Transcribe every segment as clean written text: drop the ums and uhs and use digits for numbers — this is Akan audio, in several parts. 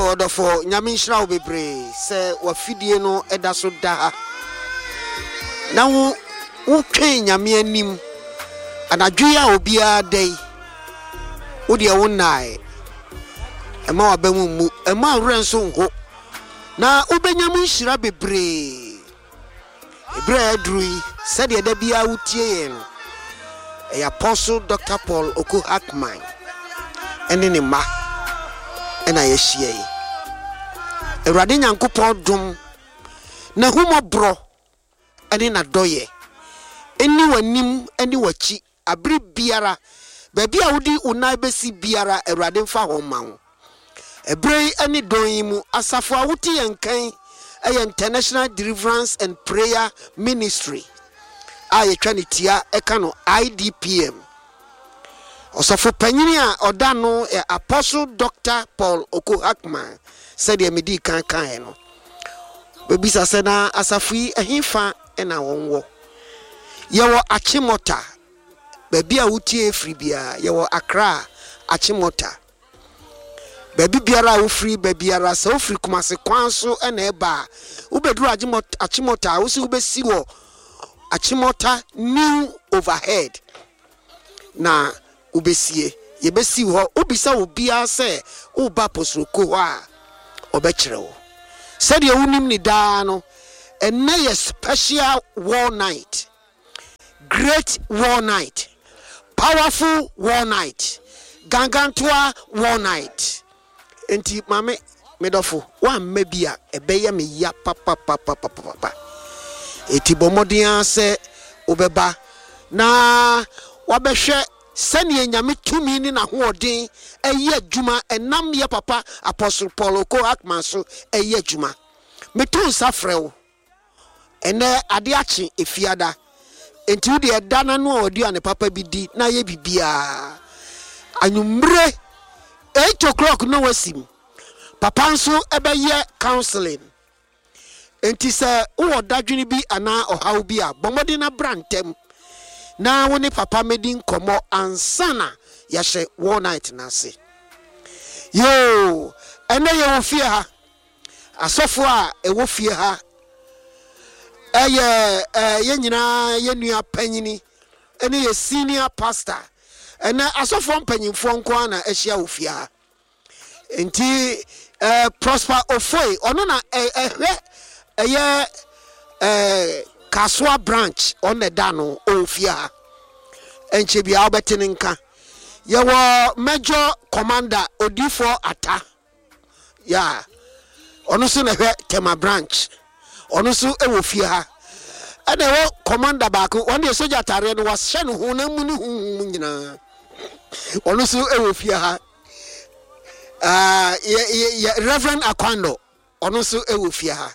Yoo ɔdɔfo Nyame nhyira wo bebree sɛ wafidie no da so da ha na wo wo twɛn Nyame anim anadwo yi a obiara da yi wo deɛ wo nnae ɛma waba mu mmu ɛma werɛ nso nho na wobɛnya mu nhyira bebree. Bere a aduru yi, sɛdeɛ da biara wotie yɛn no, ɛyɛ Apostle Doctor Paul Oku Hackman ne ne mma na yɛahyia yi. Awurade Nyankopɔn dom, n'ahummɔborɔ ne n'adɔyɛ nni w'anim ne w'akyi Bere biara, baabi a wode wo nan besi biara, Awurade mfa hɔ mma wo. Bere yi ne dɔn yi mu, asafo a wote yɛn nka yi yɛ International Deliverance and Prayer Ministry a yɛtwa ne tia ka no IDPM. Ɔsɔfo panyin a ɔda ano yɛ Apostle Doctor Paul Oko Hackman, sɛdeɛ medii kan kaeɛ no. Bɛbisa sɛ na asafo yi ɛhefa na wɔn wɔ? Yɛwɔ Achimota, baabi a wotie firi biara, yɛwɔ Accra, Achimota. Baabi biara a wofiri ba biara, sɛ wofiri Kumasi kwan so na ɛba a, wobɛduru Achimota a, wosi wobɛsi wɔ Achimota New Overhead na wobɛsie. Yɛbɛsi hɔ. Wobisa obiara sɛ woreba Apostle-Ko hɔ a, ɔbɛkyerɛ wo. Sɛdeɛ wonim no daa no, ɛnnɛ yɛ special war night, great war night, powerful war night, gangantoa war night. Enti maame, me dɔfo, woamma bi a, ɛbɛyɛ me ya papapapapapa. Enti bɔ mmɔden ara sɛ wobɛba na woabɛhwɛ sɛnea Nyame tumi ne n'ahoɔden yɛ adwuma ɛnam yɛ papa Apostle Paul Oko Hackman so yɛ adwuma. Meto nsa frɛ wo. Ɛnnɛ ade akye Efiada, enti wo deɛ da na noa w'aduane papa bi di na yɛ biribiara. Anwummere 8 o'clock na wasim. Papa nso bɛyɛ counseling. Enti sɛ wowɔ dadwene bi anaa ɔhaw bi a, bɔ mmɔden na bra ntɛm na wo ne papa mmɛdi nkɔmmɔ ansa na yɛahyɛ war night no ase. Yoo, ɛnnɛ yɛwɔ fie ha. Asɔfo a ɛwɔ fie ha yɛ yɛn nyinaa yɛn nua panyini ne yɛ senior pastor. Ɛnɛ asɔfoɔ mpanyinfoɔ nko ara na ahyia wɔ fie ha. Nti Prosper Ofoe ɔno na ɛhwɛ ɛyɛ Kasoa branch ɔno na ɛda no ɔwɔ fie ha. Ɛnkyɛ biara wobɛte ne nka. Yɛwɔ Major Commander Odifoɔ Ata. Yeah, ɔno nso na ɛhwɛ Tema branch. Ɔno nso wɔ fie ha. Ɛna ɛwɔ commander baako, wɔn deɛ sogya ataareɛ no wahyɛ no honam mu ne honhom mu nyinaa. Ɔno nso wɔ fie ha. Uh, yɛ, yɛ, yɛ, Reverend Akwando, ɔno nso wɔ fie ha.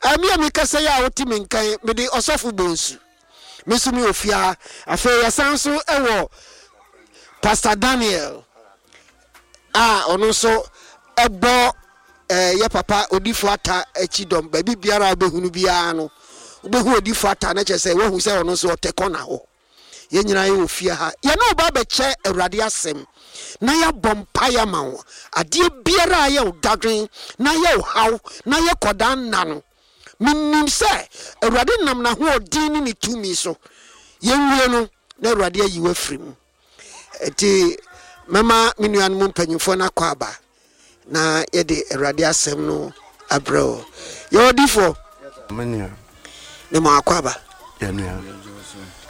Uh, me a mekasa yi a wote me nkan, mede ɔsɔfo Bonsu. Me nso mewɔ fie ha. Afei yɛsan nso wɔ Pastor Daniel. a ɔno nso bɔ yɛ papa Odifo Atta akyi dɔm. Baabi biara a wobɛhunu biara no, wobɛhu Odifo Atta na kyerɛ sɛ woahu sɛ ɔno nso ɔtɛ kɔna hɔ. Yɛn nyinaa yɛwɔ fie ha. Yɛne wo ba bɛkyɛ Awurade asɛm na yɛabɔ mpaeɛ ama wo. Adeɛ biara a ɛyɛ wo dadwen na ɛyɛ wo haw na ɛyɛ kɔdaa nna no, menim sɛ Awurade nam n'ahoɔden ne ne tumi so, yɛnwie no na Awurade ayi wo afiri mu. Enti mɛma me nuanom mpanyimfoɔ no akɔ aba na yɛde Awurade asɛm no abrɛ wo. Yɛwɔ difoɔ. Me nua. Ne mo akɔ aba. Yɛ nua.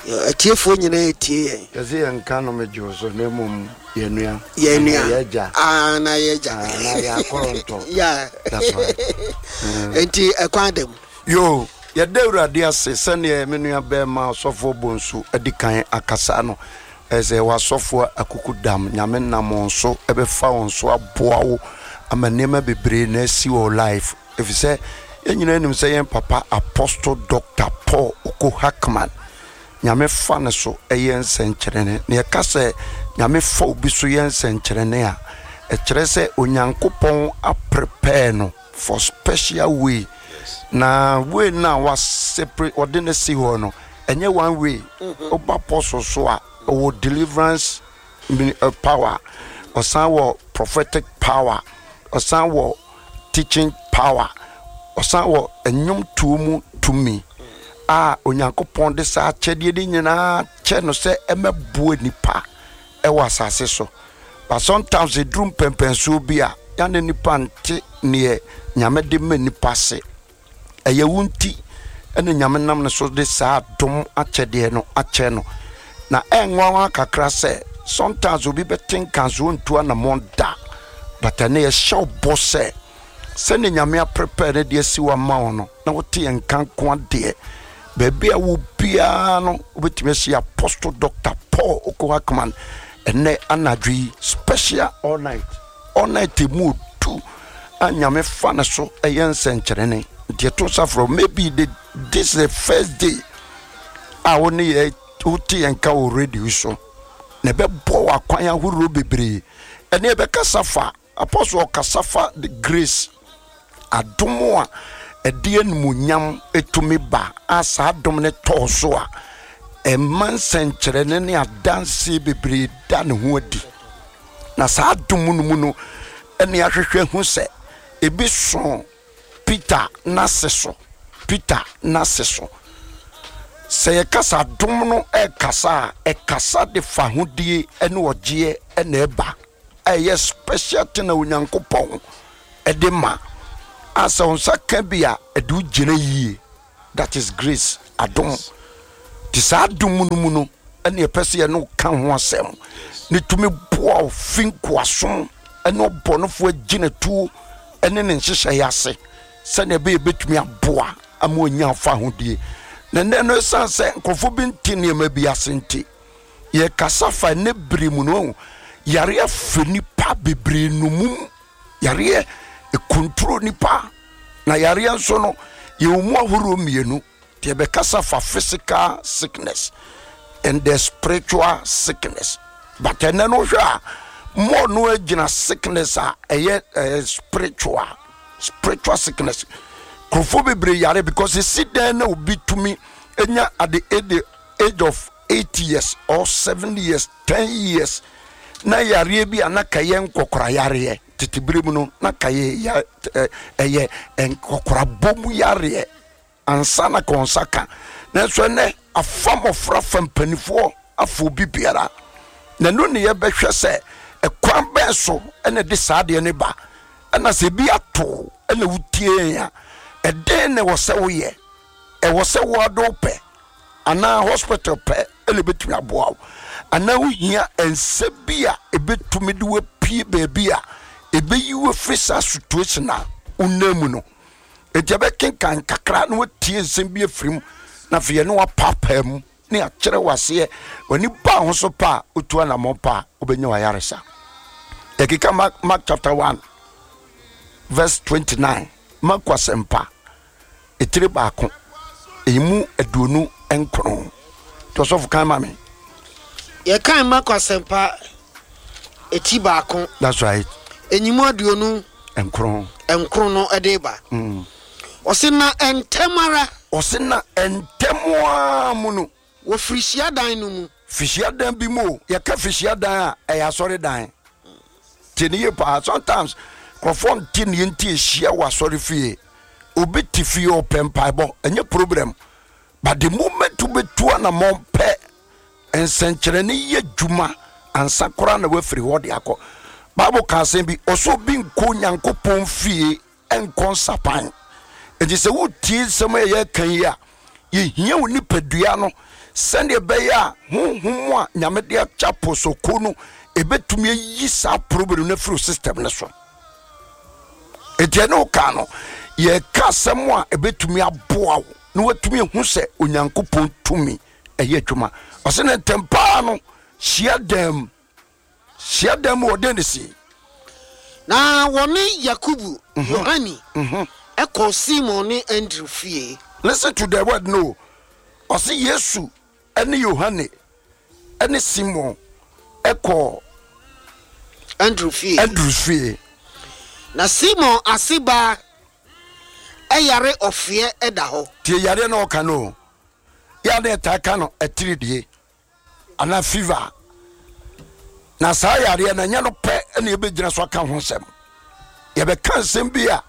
Atiefoɔ nyinaa etie yɛn. Yɛsɛ yɛn nka no megye wo so na mmom yɛ nua. Yɛ nua. Yɛ agya. Ah, na yɛ agya. Ah, na yɛ akɔrɔntɔ. Yeah. That's right. Enti ɛkwan da mu. Yoo, yɛda Awurade ase sɛdeɛ me nua bɛɛma ɔsɔfoɔ Bonsu adi kan akasa no, ɛyɛ sɛ yɛwɔ asɔfoɔ akukudam, Nyame nam wɔn so bɛfa wɔn so aboa wo ama nneɛma bebree na asi wɔ wo life, efisɛ yɛn nyinaa nim sɛ yɛn papa Apostle Doctor Paul Oko Hackman, Nyame fa ne so yɛ nsɛnkyerɛnne. Na yɛka sɛ Nyame fa obi so yɛ nsɛnkyerɛnne a, ɛkyerɛ sɛ Onyankopɔn aprepare no for special way na way no a wa separate ɔde no si hɔ no ɛnyɛ one way woba apostle so a ɔwɔ deliverance power ɔsan wɔ prophetic power ɔsan wɔ teaching power, ɔsan wɔ nnwomtoɔ mu tumi a Onyankopɔn de saa akyɛdeɛ no nyinaa kyɛ no sɛ ɛmɛboa nipa ɛwɔ asase so. But sometimes ɛduru mpɛmpɛnsoɔ bi a, ya ne nipa nte neɛ Nyame de ma nipa ase. Ɛyɛ wo nti na Nyame nam ne so de saa adom akyɛdeɛ no akyɛ no. Na ɛnwanwa kakra sɛ sometimes obi bɛte nka nso ɔntu anamɔn da. But ɛnɛ yɛhyɛ wo bɔ sɛ sɛdeɛ Nyame aprepare no de asi hɔ ama wo no, na wote yɛn nka nko adeɛ, baabi a wɔ biara no wobɛtumi asi Apostle Doctor Paul Oko Ackman ɛnɛ anadwo yi special all night. All night emu odu a Nyame fa ne so yɛ nsɛnkyerɛnne. Nti ɛto nsa frɛ wo. Maybe the, this is the first day a wo ne yɛ wote yɛn nka wɔ radio so. Na ɛbɛbɔ wɔ akwan ahorow bebree. Ɛne ɛbɛkasa fa Apostle ɔkasa fa the grace adom a ɛde animuonyam tumi ba a saa adom no tɔɔ so a ɛma nsɛnkyerɛnne ne adanseɛ bebree da ne ho adi. Na saa adom no mu no ɛne ahwehwɛ hu sɛ ebi so Peter n'ase so. Peter n'ase so. Sɛ yɛka sɛ adom no ɛkasa a, ɛkasa de fa ahodie ne ɔgyeɛ na ɛba. A ɛyɛ special thing a Onyankopɔn ɛde ma. A sɛ wo nsa ka bi a, ɛde wo gyina yie. That is grace, adom. Nti saa adom no mu no ɛne ɛpɛ sɛ yɛne wo ka ho asɛm ne tumi boa wo fi nkoasom ɛne ɔbɔnefoɔ agyinatuo ɛne ne nhyehyɛeɛ ase sɛnea ɛbɛyɛ bɛtumi aboa ama ɔnya afa ahodie. Na nnɛ no ɛsiane sɛ nkurɔfoɔ bi nte nneɛma bi ase nti yɛkasa fa ɛnɛ bere mu no yareɛ afɛ nipa bebree nomum. Yareɛ ɛkontro nipa, na yareɛ nso no yɛwɔ mu ahoroɔ mmienu. Deɛ bɛkasa fa physical sickness and the spiritual sickness. But ɛnɛ no hwɛ a more no agyina sickness a ɛyɛ ɛyɛ spiritual, spiritual sickness. Nkurɔfoɔ bebree yare because esi dɛn na obi tumi nya at the age of 8 years or 7 years 10 years na yareɛ bi a na ka yɛ nkɔkora yareɛ tete bere mu no na ka yɛ ɛyɛ nkɔkorabɔ mu yareɛ ansa na ka nsa ka. Nanso ɛnɛ afa mmɔfra fa mpanimfoɔ afa obi biara, na ɛno ne yɛbɛhwɛ sɛ ɛkwan bɛn so ɛna ɛde saa adeɛ no ba, ɛna sɛ ebi ato ɛna wotie yɛn a, ɛdɛn na ɛwɔ sɛ woyɛ? Ɛwɔ sɛ wo ade wopɛ anaa hospital pɛ na ebetumi aboa wo, anaa wohia nsa bi a ebetumi de wapue baabi a ebeyi wo afiri saa situation a wonam mu no. Enti ɛbɛkenkan kakra na watie nsɛm bi afiri mu, na afei yɛne wapaapaa mu ne akyerɛ wo aseɛ. W'ani ba ho so pa a, wotu anammɔn pa a, wobɛnya w'ayaresa. Yɛkeka Mark, Mark chapter 1 verse 29, Marko asɛmpa etire baako, emu 29. Nti ɔsɔfo kan ma me. Yɛkan Marko asɛmpa eti baako. That's right. Enyimu aduonu. Nkron. Nkron no ɛde ba. Ɔse na ntɛm ara. Ɔse na ntɛm ara mu no. Wɔ firi hyiadan no mu. Firi hyiadan bi mu o. Yɛka firi hyiadan a, ɛyɛ asɔredan. Tie ne yie paa. Sometimes nkurɔfoɔ nte neɛ nti ɛhyia wɔ asɔre fie. Obi te fie ɔpɛ mpaebɔ, ɛnyɛ problem. But the moment wobɛtu anammɔn pɛ, nsɛnkyerɛnne yɛ adwuma ansa koraa na woafiri hɔ de akɔ. Bible ka asɛm bi, ɔsɛ obi nkɔ Onyankopɔn fie nkɔ nsapan. Enti sɛ wotie nsɛm a yɛreka yi a, yɛhia wo nipadua no sɛdeɛ ɛbɛyɛ a honhom a Nyame de akyɛ aposoko no ɛbɛtumi ayi saa problem no afiri system no so. Enti ɛne wo ka no, yɛreka asɛm a ɛbɛtumi aboa wo na woatumi ahu sɛ Onyankopɔn tumi ɛyɛ adwuma. Ɔse ne ntɛm paa no hyia dam. Hyiadan mu hɔ, dɛn na esii? Na wɔne Yakobo, Yohane kɔɔ Simon ne Andrew fie. Listen to the word no. Ɔse Yesu ne Yohane ne Simon kɔɔ Andrew fie. Andrew fie. Na Simon ase baa yare ɔfeɛ da hɔ. Tie yareɛ na ɔka no o. Yɛ a na yɛtaa ka no atiridie. anaa fever. Na saa yareɛ no ɛnyɛ no pɛ na yɛbɛgyina so aka ho nsɛm. Yɛbɛka nsɛm bi a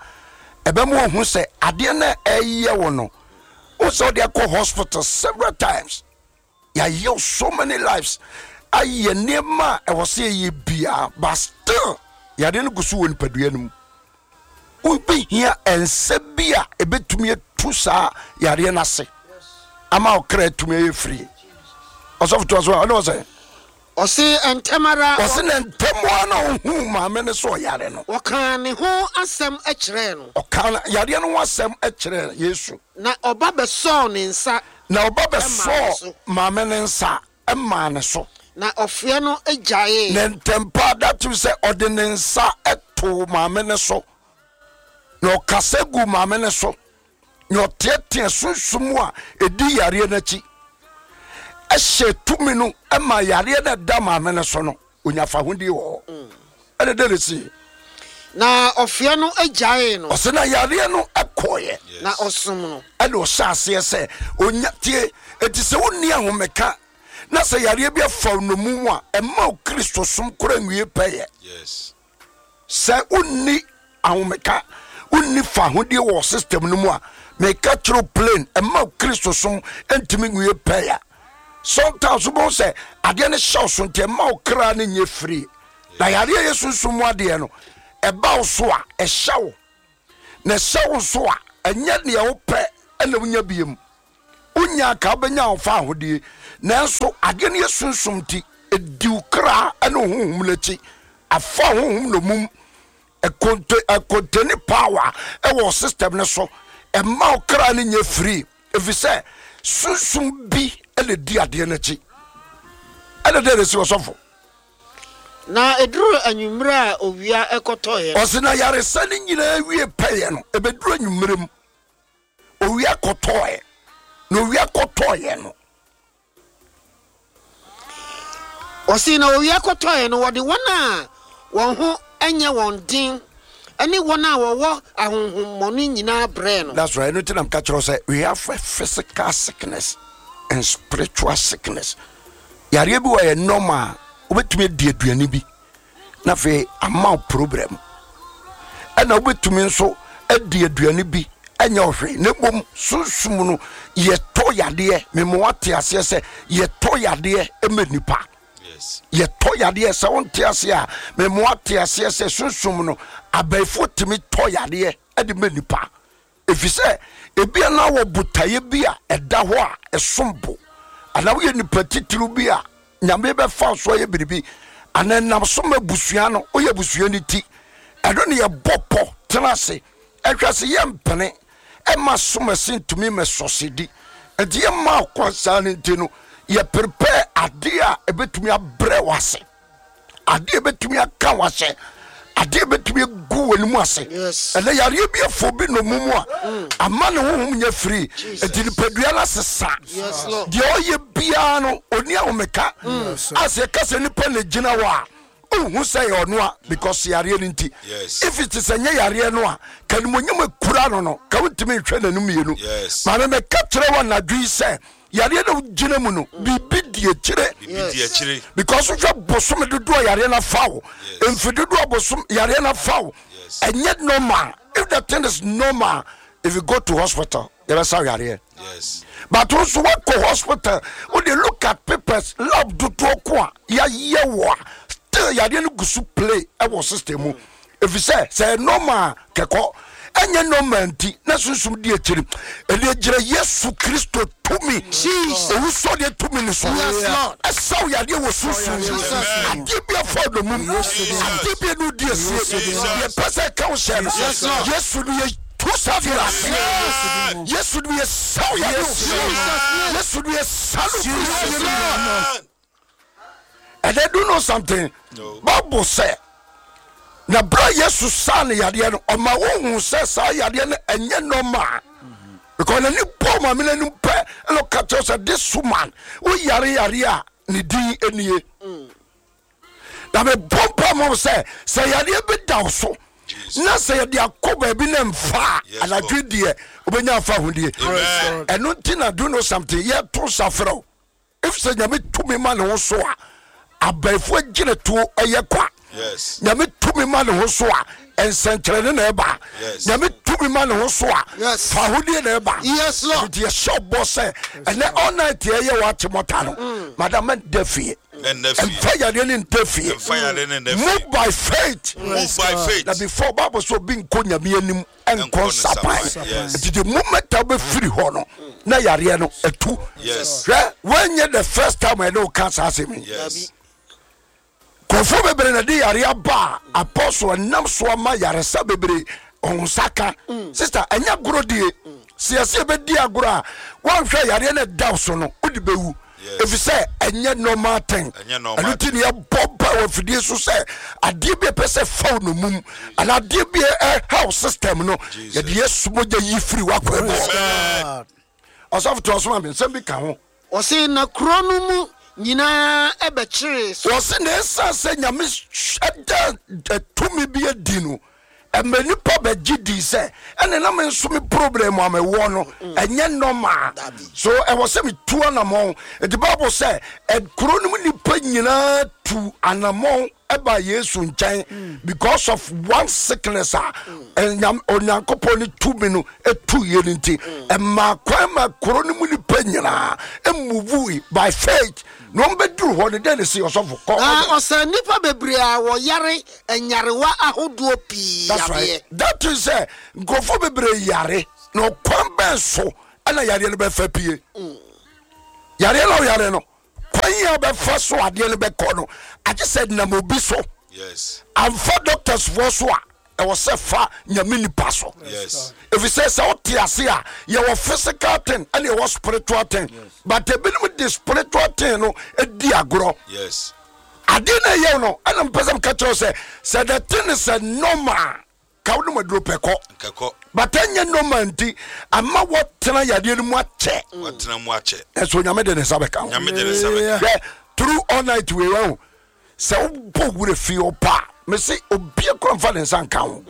Ɛbɛma wahu sɛ adeɛ no a ɛyɛ wo no, wo sɛ wode akɔ hospital several times. Yɛayɛ so many lives, ayɛ nneɛma a ɛwɔ sɛ yɛyɛ biara, but still yadeɛ no gu so wɔ nipadua no mu. Wobɛhia nsa bi a ɛbɛtumi atu saa yareɛ no ase ama wo kra atumi ayɛ firi. Ɔsɔfo toa so a, ɔne ɔsɛ. Ɔse ntɛm ara. Ɔse na ntɛm ara na ɔhuu maame no sɛ ɔyare no. Ɔkaa ne ho asɛm kyerɛɛ no. Ɔkaa yareɛ no ho asɛm kyerɛɛ Yesu. Na ɔba bɛsɔɔ ne nsa. Na ɔba bɛsɔɔ maame no nsa maa ne so. Na ɔfeɛ no gyaee. Na ntɛmpa that means sɛ ɔde ne nsa too maame no so. Na ɔkasa guu maame no so. Na ɔteɛteɛ sunsum a ɛdi yareɛ no akyi. Ɛhyɛ tumi no ma yareɛ no ɛda maame no so no, ɔnya fahodie wɔ hɔ. Ɛna dɛn na ɛsiiɛ? Na ɔfeɛ no gyaee no. Ɔsɛ na yareɛ no kɔeɛ. Na ɔsom no. Ɛna ɔhyɛ aseɛ sɛ ɔnya tie. Enti sɛ wonni ahomeka na sɛ yareɛ bi afa wo nnommum a, ɛmma wo Kristosom koraa nwie pɛyɛ. Sɛ wonni ahomeka, wonni fahodie wɔ system no mu a, meka kyerɛ wo plain, ɛmma wo Kristosom ntumi nwie pɛyɛ. Sometimes wobɛhu sɛ adeɛ no hyɛ wo so nti ɛmma wo kra no nyɛ free. Na yareɛ yɛ sunsum mu adeɛ no, ɛba wo so a, ɛhyɛ wo. Na ɛhyɛ wo nso a, ɛnyɛ deɛ wopɛ na wonya biem. Wonya ka wobɛnya wo fa ahodie. Nanso adeɛ no yɛ sunsum nti, ɛdi wo kra ne wo honhom no akyi. Afa honhom nnomum, ɛkonteni power ɛwɔ system no so. Ɛma wo kra no nyɛ free. Ɛfiri sɛ sunsum bi na ɛdi adeɛ no akyi. Ɛna dɛn na ɛsi ɔsɔfo? Na ɛduruu anwummerɛ a owia kɔtɔeɛ no. Ɔse na yaresa no nyinaa wie pɛyɛ no, ɛbɛduru anwummerɛ mu, owia kɔtɔeɛ. Na owia kɔtɔeɛ no. Ɔse na owia kɔtɔeɛ no, wɔde wɔn a wɔn ho nyɛ wɔn den ne wɔn a wɔwɔ ahonhommɔne nyinaa brɛɛ no. That's right, ɛno nti na meka kyerɛ wo sɛ we have a physical sickness and spiritual sickness. Yareɛ bi wɔ yɛ normal, wobɛtumi adi aduane bi na afei ama wo problem. Ɛna wobɛtumi nso adi aduane bi ɛnyɛ ɔhwee, na mmom sunsum no yɛtɔ yadeɛ. Mema wate aseɛ sɛ yɛtɔ yadeɛ ma nipa. Yɛtɔ yadeɛ sɛ wonte aseɛ a, mema wate aseɛ sɛ sunsum no abayifoɔ tumi tɔ yadeɛ de ma nipa. Efisɛ ebia na wɔ botaeɛ bi a ɛda hɔ a ɛsom bo, anaa woyɛ nipa titiriw bi a Nyame bɛfa wo so ayɛ biribi, anaa ɛnam so ma abusua no, woyɛ abusua no ti. Ɛno ne yɛbɔ pɔ tena ase hwɛ sɛ yɛmpene mma asomasi ntumi mmɛsɔsedi. Nti yɛmma wo kwan saa no nti no, yɛ prepare adeɛ a ɛbɛtumi abrɛ wo ase. Adeɛ bɛtumi aka wahyɛ, adeɛ bɛtumi agu w'anim ase. Ɛnɛ yareɛ bi afɔ bi nnommum a ama ne honhom nyɛ firi, nti nipadua no asesa. Deɛ ɔyɛ biara no ɔni ahomeka. A sɛ yɛka sɛ nipa na gyina hɔ a, wohu sɛ yɛ ɔno a, because yareɛ no nti. If it is ɛnyɛ yareɛ no a, ka animuonyam akura no no, ka wontumi nhwɛ n'anim mmienu. Maame mɛka kyerɛ wo anadwo yi sɛ yareɛ na wogyina mu no biribi di akyire. Biribi di akyire. Because wohwɛ bosome dodoɔ a yareɛ no afa wo, mfe dodoɔ a bosom yareɛ no afa wo, ɛnyɛ normal. If the thing is normal, if you go to hospital, yɛbɛsa wo yareɛ. But wo nso woakɔ hospital, wode look at papers, lab dodoɔ ko a yɛayɛ wo a, still yareɛ no gu so play ɛwɔ system mu. Efisɛ sɛ ɛyɛ normal a kɛkɔ, ɛnyɛ normal nti na sunsum di akyiri. Ɛnna gyina Yesu Kristo tumi, owusɔreɛ tumi no so. Ɛsaw yadeɛ wɔ sunsum mu. Adeɛ bi afa ɔdɔmum, adeɛ bi ɛnu di asie, deɛ ɛpɛ sɛ ɛka wo hyɛ no. Yesu no yɛ tu saa deɛ no ase. Yesu no yɛ saw yadeɛ wɔ sunsum. Yesu no yɛ sa no firi sie. And they do know something. No. Bible sɛ na berɛ a Yesu saa no yadeɛ no ɔma wohu sɛ saa yadeɛ no ɛnyɛ normal mm-hmm. because n'ani bɔɔ maame no anim pɛ ɛna ɔka kyerɛ sɛ this woman woyare yareɛ a ne din nie mm. Na mebɔ mpa ma wo sɛ sɛ yareɛ bi da wo so na sɛ yɛde akɔ baabi na mfa a anadwo deɛ wobɛnya afa ahodie. Ɛno nti na do know something yɛto nsa frɛ wo. Efisɛ Nyame tumi ma ne ho so a, abaifo agyinatuo yɛ kwa. Nyame tumi ma ne ho so a, nsɛnkyerɛnne na ɛba. Nyame tumi tumi ma ne ho so a, Yes. fa ahodie na ɛba. Yes, Lord. Nti yɛhyɛ wo bɔ sɛ ɛnɛ all night yɛyɛ wɔ Achimota no, Mm. madam mɛnda fie. Mɛnda fie. Mfa yareɛ no nda fie. Mfa yareɛ no nda fie. Move by faith. Move by faith. Na before Bible sɛ obi nkɔ Nyame anim nkɔ Nkɔ ne nsapan. nsapan, yes. Nti the moment a wobɛfiri hɔ no na yareɛ no atu. Yes. Hwɛ, woanyɛ the first time a yɛne wo ka saa asɛm yi. Yes. Nkurɔfoɔ bebree na ɛde yareɛ aba a apostle ɛnam so ama yaresa bebree wɔn nsa ka. Sister, ɛnyɛ agorɔ die. Sɛ yɛsɛ yɛbɛdi agorɔ a, woanhwɛ yareɛ no ɛda wo so no, wode bɛwu. Yes. Ɛfiri sɛ ɛnyɛ normal thing. Ɛnyɛ normal Ɛno nti ne yɛbɔ mpa wɔ afidie so sɛ adeɛ bi a ɛpɛ sɛ fa wo nomum anaa adeɛ bi a ɛha wo system no, Jesus. yɛde Yesu mogya yi firi w'akwan mu. Amen. Ɔsɔfo toa so ma me, nsɛm bi ka ho. Ɔse na kuro no mu nyinaa bɛkyeree so. Ɔse na ɛsiane sɛ Nyame da tumi bi adi no, ɛma nnipa bɛgye dii sɛ ɛne na me nso me problem a mewɔ no ɛnyɛ normal, so ɛwɔ sɛ metu anamɔn. Nti Bible sɛ kuro no mu nnipa nyinaa tu anamɔn ɛba Yesu nkyɛn because of one sickness a Onyankopɔn ne tumi no etu yɛ no nti, ɛmaa kwan ma kuro no mu nipa nyinaa emuvu by faith na wɔn bɛduru hɔ no. Dɛn na esi, ɔsɔfo? Kɔ. Na ɔsaa nnipa bebree a wɔyare nyarewa ahodoɔ pii That's yareɛ. right. That is sɛ nkurɔfoɔ bebree yare na ɔkwan bɛn so ɛna yareɛ no bɛfa pie? Yareɛ na ɔyare no, kwan a bɛfa so adeɛ no bɛkɔ no, agye sɛ nam obi so. Yes. Amfa doctors foɔ so a, ɛwɔ sɛ fa Nyame nipa so. Yes. Ɛfiri sɛ sɛ wote ase a, yɛwɔ physical thing ɛne yɛwɔ spiritual thing, but ebinom de spiritual thing no di agorɔ. Yes. Adeɛ no ɛyɛw no, ɛna mpɛ sɛ meka kyerɛ wo sɛ sɛ the thing is a normal ka wo nom aduro pɛ kɔ, Nkɛkɔ. but ɛnyɛ normal nti ama wɔtena yadeɛ no mu akyɛ. Watena mu akyɛ. Ɛnso Nyame de ne nsa bɛka ho. Nyame de ne nsa bɛka. Hwɛ, through all night wei wahu sɛ wobɔ wura fie hɔ pa a, mese obia kora mfa ne nsa nka ho,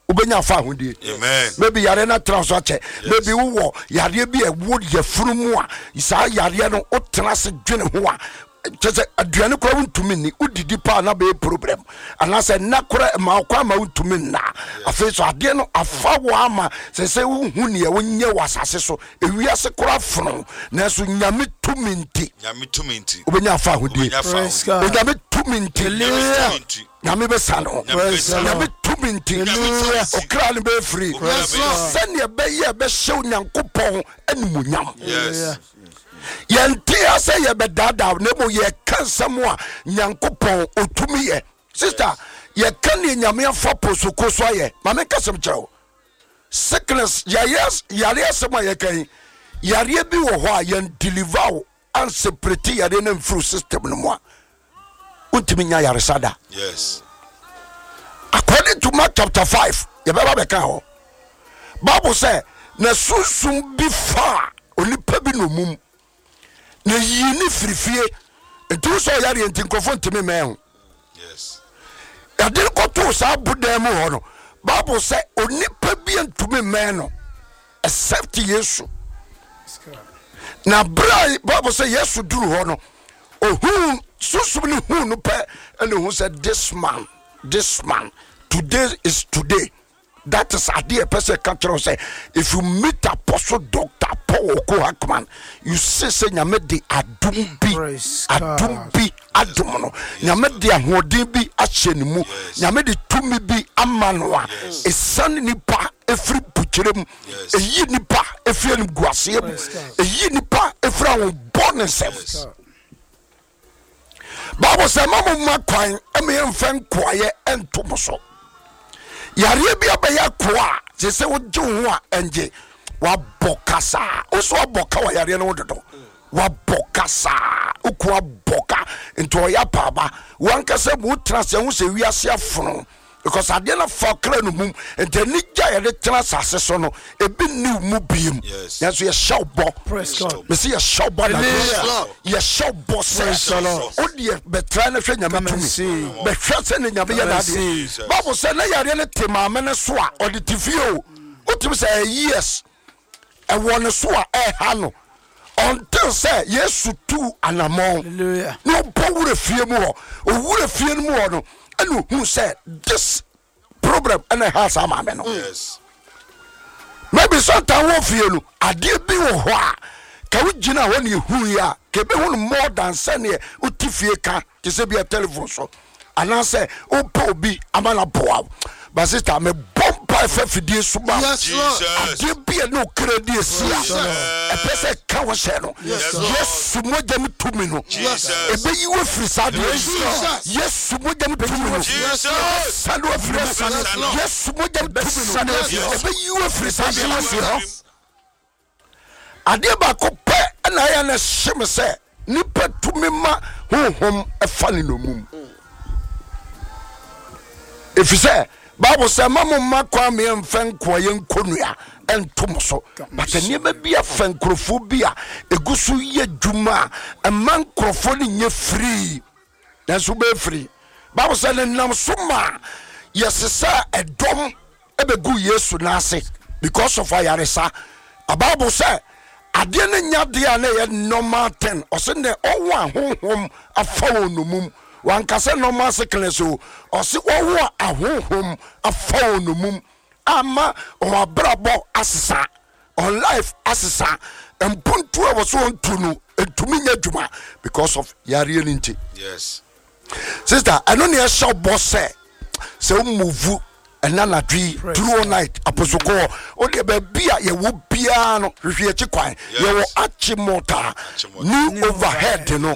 wobɛnya afa ahodie. Amen. Maybe yareɛ no atena so akyɛ. Maybe wowɔ yareɛ bi a ɛwɔ yafunu mu a saa yareɛ no wotena ase dwene ho a, kyɛ sɛ aduane kora wontumi nni, wodidi paa na bɛyɛ problem, anaasɛ nna kora ma wo kwan ma wontumi nna. Afei so adeɛ no afa wo ama sɛ sɛ wohu neɛ wonyɛ wɔ asase so, ewiase kora fono, nanso Nyame tumi nti, Nyame tumi nti, wobɛnya afa ahodie. Wobɛnya afa Praise ahodie. God. Onyame tumi nti, Nyame tumi nti, Nyame bɛsa no. Nyame bɛsa no. Nyame tumi nti, Nyame tumi nti, ɔkra no bɛyɛ firi Ɔkra bɛyɛ free. sɛdeɛ ɛbɛyɛ ɛbɛhyɛ Onyankopɔn animuonyam. Yes. Yɛnte ha sɛ yɛbɛdaadaa, na mmom yɛka nsɛm a Nyankopɔn ɔtumi yɛ. Sister, yɛka neɛ Nyame afa posoko so ayɛ. Ma menka sɛm kyerɛ wo. Sickness, yɛyɛ yareɛ asɛm a yɛka yi, yareɛ bi wɔ hɔ a yɛn deliver wo anseparate yareɛ no mfiri system no mu a, wontumi nya yaresa da. Yes. According to Mark chapter 5, yɛbɛba bɛka hɔ. Bible sɛ na sunsum bi faa onipa bi nomum na yii ne firi fie, nti wo sɛ ɔyareɛ nti nkurɔfoɔ ntumi mmɛn ho. Yes. Yɛde no kɔtoo saa bodan mu hɔ no, Bible sɛ onipa bi ntumi mmɛn no except Yesu. Na berɛ a Bible sɛ Yesu duru hɔ no, ohuu sunsum no huu no pɛ, ɛna ohu sɛ this man, this man, today is today. That is adeɛ ɛpɛ sɛ ɛka kyerɛ wo sɛ if you meet Apostle Doctor Paul Oko Hackman, you see sɛ Nyame de adom bi, Praise adom God. bi adom no, Nyame de ahoɔden bi ahyɛ ne mu, Nyame de tumi bi ama no a ɛsiane nipa ɛfiri mpokyerɛ mu, ɛyi nipa ɛfiri animguaseɛ mu, Praise God. ɛyi nipa ɛfiri ahombɔ ne nsɛm. God. Bible sɛ ma mo mma kwan ma yɛmfa nkoayɛ nto mo so. Yareɛ bi abɛyɛ akoa a sɛ sɛ wogye wo ho a ɛngye. Wabɔ kasaa, wo so abɔ ka wɔ yareɛ no ho dodo. Wabɔ kasaa, woko abɔ ka nti ɔyɛ apaaba. Wankasa mu wotena ase ho sɛ wiase afono, because adeɛ no afa kra no mum, nti anigye a yɛde tena asase so no ebi nni wo mu biem. Yes. Nanso yɛhyɛ wo bɔ. Praise God. Mesi yɛhyɛ wo bɔ anadwo. Hallelujah. Yɛhyɛ wo bɔ sɛ Praise the Lord. wodeɛ bɛtra no hwɛ Nyame Come and tumi, see. bɛhwɛ sɛ ne Nyame yɛ Come and n'adeɛ. see. Bible sɛ na yareɛ no te maame no so a ɔde te fie o, wotumi sɛ ɛyɛ years ɛwɔ ne so a ɛha no until sɛ Yesu tu anammɔn Hallelujah. na ɔbɔ wura fie mu hɔ. Owura fie no mu hɔ no, ɛna ohuu sɛ this problem ɛna ɛha saa maame no. Yes. Maybe sometimes wɔ fie no adeɛ bi wɔ hɔ a ka wogyina hɔ ne ɛhui a ka ɛbɛhu no more than sɛneɛ wote fie ka te sɛ bia telephone so anaasɛ wopɛ obi ama no aboa wo. But sister, mebɔ mpae fa fidie so ma wo. Yes, Lord. Jesus. Adeɛ bi a ne okra di esi a ɛpɛ sɛ ɛka wo hyɛ no, Yesu mogya mu tumi no Jesus. ɛbɛyi wo afiri saa adeɛ no mu. Jesus. Yesu mogya mu tumi no Jesus. ɛbɛsane wo afiri mu. Yes, Lord. Yesu mogya mu tumi no Ɛbɛsane wo afiri hɔ. ɛbɛyi wo afiri saa adeɛ no Ɛbɛyi wo mu. afiri mu. Adeɛ baako pɛ na ɛyɛ na ɛhye me sɛ nipa tumi ma honhom ɛfa ne nnommum. Ɛfiri sɛ Bible sɛ ma mo mma kwan me ɛmfa nkoayɛ nkɔnnua ɛnto mo so. But nneɛma bi afa nkurɔfoɔ bi a ɛgu so yɛ adwuma a ɛma nkurɔfoɔ no nyɛ firii. Nanso wobɛyɛ firii. Bible sɛ ne nam so ma yɛsesa ɛdɔm bɛguu Yesu nan ase because of ayaresa. Na Bible sɛ adeɛ no nyɛ adeɛ a na ɛyɛ normal thing. Ɔse nɛ ɔwo a honhom afa wɔn nomum. Wanka sɛ normal sickness o. Ɔse ɔwo a ahonhom afa wɔn nomum ama wɔn abrabɔ asesa, wɔn life asesa. Mpuntuo a ɛwɔ so wɔn tu no ntumi nyɛ adwuma because of yareɛ no nti. Yes. Sister, ɛno ne ɛhyɛ bɔ sɛ sɛ wo move ɛna anadwo yi through all night aposoko hɔ o deɛ baabi a yɛwɔ biara no hwehwɛ akyi kwan. Yɛwɔ Achimota new overhead no.